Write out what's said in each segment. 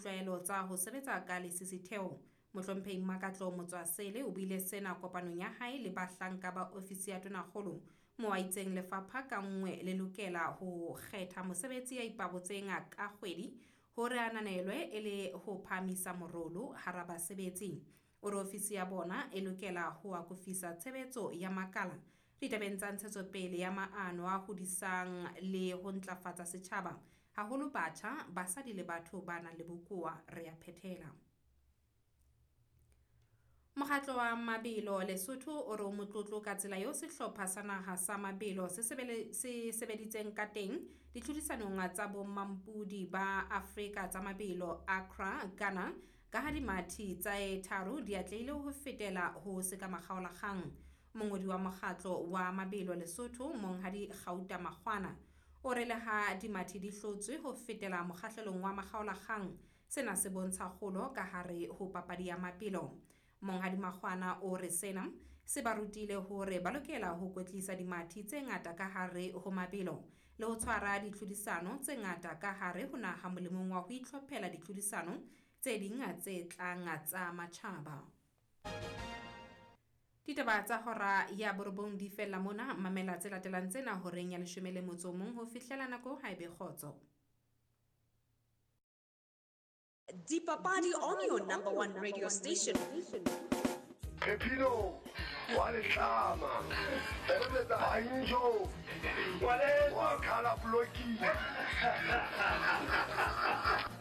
ditlwaelo tsa ho sebetsa ka lesisitheho. Mohlomphehi Makatlo Motswasele o buile sena kopanong ya hae le bahlanka ba ofisi ya Tonakgolo moo a itseng lefapha ka nngwe le lokela ho kgetha mosebetsi ya ipabotseng ka kgwedi hore a ananelwe e le ho phahamisa morolo hara basebetsi. O re ofisi ya bona e lokela ho akofisa tshebetso ya makala ditabeng tsa ntshetsopele ya maano a hodisang le ho ntlafatsa setjhaba, haholo batjha, basadi le batho ba nang le bokowa. Re a phethela. Mokgatlo wa mabelo Lesotho o re o motlotlo ka tsela eo sehlopha sa naha sa mabelo se sebeditseng ka teng ditlhodisanong tsa bommampudi ba Afrika tsa mabelo Accra, Ghana, ka ha dimathi tse tharo di atlehile ho fetela ho sekamakgaolakgang. Mongodi wa mokgatlo wa mabelo Lesotho, Monghadi Gauta Makgwana, o re le ha dimathi di hlotswe ho fetela mokgahlelong wa makgaolakgang, sena se bontsha kgolo ka hare ho papadi ya mabelo. Monghadi Makgwana o re sena se ba rutile hore ba lokela ho kwetlisa dimathi tse ngata ka hare ho mabelo le ho tshwara ditlhodisano tse ngata ka hare ho naha molemong wa ho itlhophela ditlhodisano tse ding tse tlang tsa matjhaba. Ditaba tsa hora ya borobong di fella mona. Mamela tse latelang tsena horeng ya 11 ho fihlela nako ha ebe kgotso. Dipapadi on your number one radio station. Phephino wa letlama Banjo wa khala blocking.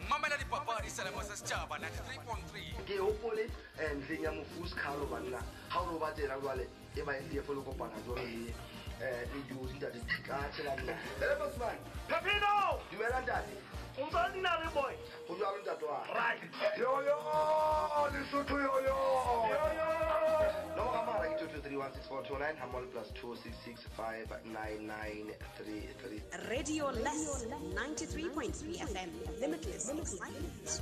Mamela dipapadi selemo sa setjhaba 93.3. Ke hopole ntlheng ya mofu Skhalo banna ha o no ba tsena jwale e ba NDF le kopana jwalo le le Jozi ntate ka tshela nna. Ele Bosman. Phephino. Dumela ntate. O ntse nna le boy. Ho jwalo ntate wa. Right. Yo yo Lesotho yo yo. Yo yo. Nomoro ya mohala ke 2231642 hammoho le plus 266 59933. Radio Less 93.3 FM. Limitless excitement.